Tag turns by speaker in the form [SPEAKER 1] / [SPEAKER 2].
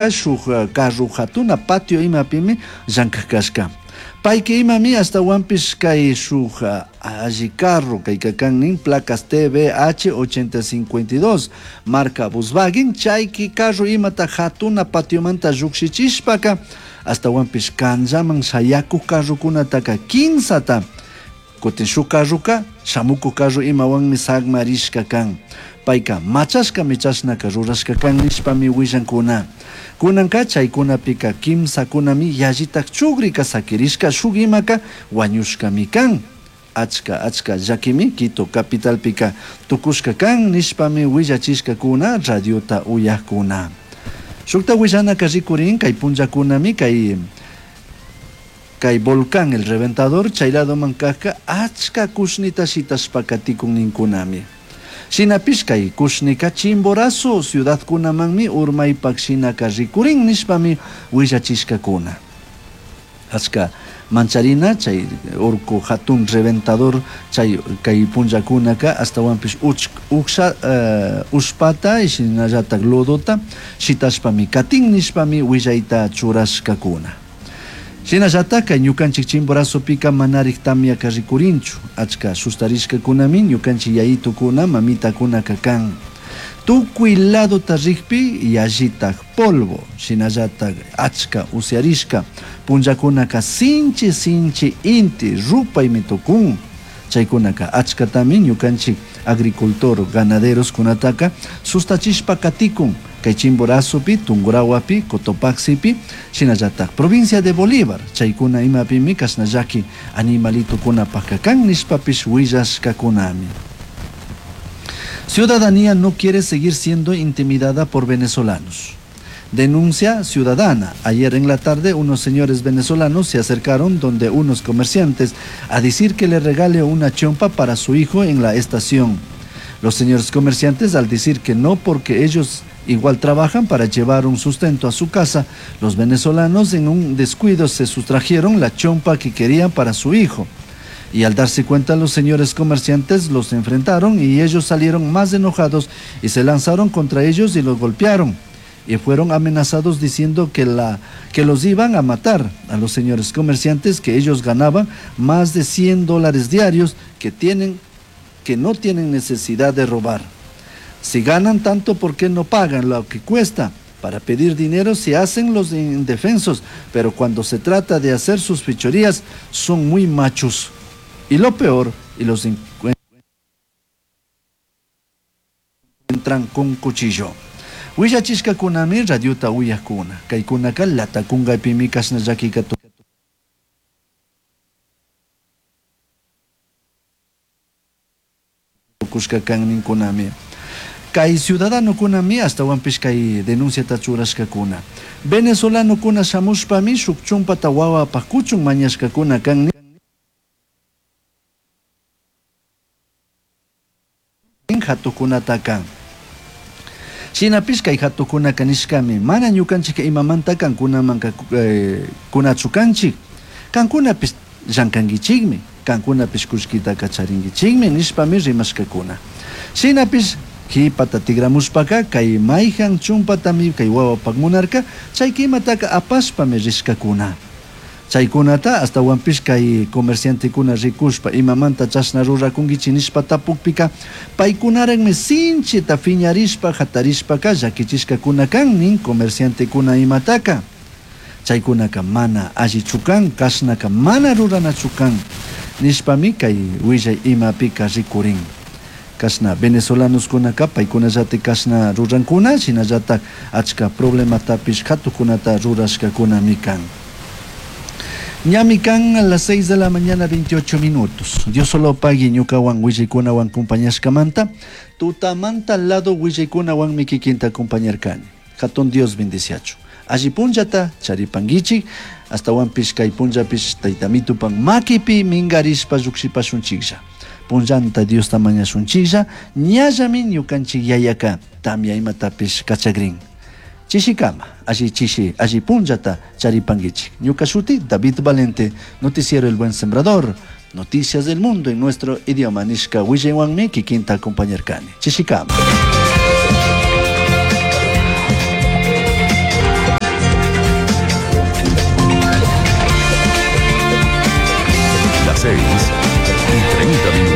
[SPEAKER 1] Shuk carro jatuna patio imapimi llankaj cashca. Paica imami ashtahuanpish cai shuk alli carro caica can nin placas TBH 8052 marca Volkswagen chaiqui carro imata jatuna patiomanta llujshichishpaca ashtahuanpish canllaman shayacuj carrocunataca quimsata Cutin shuj carroca shamucuj carro imahuanmi sagmarishca can. Paica machashcami chashnaca rurashca can nishpami huillancuna. Cunanca chaicunapica quimsacunami yallitaj chugrica saquirishca shuj imaca huañushcami can. Achca achca llaquimi Quito capitalpica tucushca can nishpami huillachishcacuna radiota uyajcuna. Shujta huillanaca ricurin cai punllacunami cai Cai volcán El Reventador chai ladoman cajca achca cushnita shitashpa caticun nincunami. Shinapish cai cushnica Chimborazo ciudadcunamanmi urmaipac shinaca ricurin nishpami huillachishcacuna. Achca mancharina chai urcu jatun Reventador chai cai punllacunaca ashtahuanpish ucsha ushpata y shinallatac lodota shitashpami catin nishpami huillaita churashcacuna. Shinallataca ñucanchij Chimborazopica manarij tamyaca ricurinchu. Achca sustarishcacunami ñucanchij yayitucuna, mamitacunaca can. Tucui ladota rijpi yallitaj polvo, shinallataj achca usyarishca punllacunaca sinchi sinchi inti rupaimi tucun. Chaicunaca achcatami ñucanchij agricultor, ganaderoscunataca sustachishpa caticun. Cai Chimborazopi, Tungurahuapi, Cotopaxipi, shinallataj provincia de Bolívar, chaicuna imapimi cashna llaqui animalitocunapajca can nishpapish huillashcacunami. Ciudadanía no quiere seguir siendo intimidada por venezolanos. Denuncia ciudadana. Ayer en la tarde unos señores venezolanos se acercaron donde unos comerciantes a decir que le regale una chompa para su hijo en la estación. Los señores comerciantes al decir que no porque ellos igual trabajan para llevar un sustento a su casa, los venezolanos en un descuido se sustrajeron la chompa que querían para su hijo. Y al darse cuenta los señores comerciantes los enfrentaron y ellos salieron más enojados y se lanzaron contra ellos y los golpearon. Y fueron amenazados diciendo que, la, que los iban a matar a los señores comerciantes, que ellos ganaban más de 100 dólares diarios que, tienen, que no tienen necesidad de robar. Si ganan tanto, ¿por qué no pagan lo que cuesta? Para pedir dinero se hacen los indefensos, pero cuando se trata de hacer sus fechorías son muy machos. Y lo peor, y los encuentran con cuchillo. Huillachishcacunami radiota uyajcuna. Caicunaca latacungapimi cashna llaquica tucushca can nincunami. Cai ciudadanocunami ashtahuanpish cai denunciata churashcacuna. Venezolanocuna shamushpami shuc chumpata huahuapaj cuchun mañashcacuna can nin jatucunataca. Shinapish cai jatucunaca nishcami, mana ñucanchijca imamanta cancunamanca cunachu canchij. Cancunapish llancanguichijmi, cancunapish cullquitaca charinguichijmi nishpami rimashcacuna. Shinapish jipata tigramushpaca cai maijan chumpatami cai huahuapaj munarca, chaica imataca apashpami rishcacuna. Chaicunata ashtahuanpish cai comerciantecuna ricushpa imamanta chashna ruracunguichij nishpa tapujpica, paicunarajmi sinchita fiñarishpa jatarishpaca llaquichishcacuna can nin comerciantecuna imataca. Chaicunaca mana allichu can, cashnaca mana ruranachu can nishpami cai huillai imapica ricurin. Cashna venezolanoscunaca paicunallataj cashna rurancuna, shinallataj achca problematapish jatujcunata rurashcacunami can. Ñami can a las 6 de la mañana 28 minutos. Dios solo pagui ñucahuan huillaicunahuan compañashcamanta, tutamanta lado huillaicunahuanmi kikinta acompañarcani. Jatun Dios bendiciachu. Alli punllata charipanguichij, ashtahuanpish cai punllapish Taitamitupan maquipi mingarishpa llujshipashunchijlla. Punllanta Diosta mañashunchijlla, ñallami ñucanchij Yayaca tamya imatapish cachagrin. Chishicama, alli chishi, alli punllata charipanguichij. Ñuca shuti David Valente, Noticiero El Buen Sembrador, Noticias del Mundo en nuestro idioma nishca huillaihuanmi kikinta acompañarcani. Chishicama.
[SPEAKER 2] 6 y 30 minutos.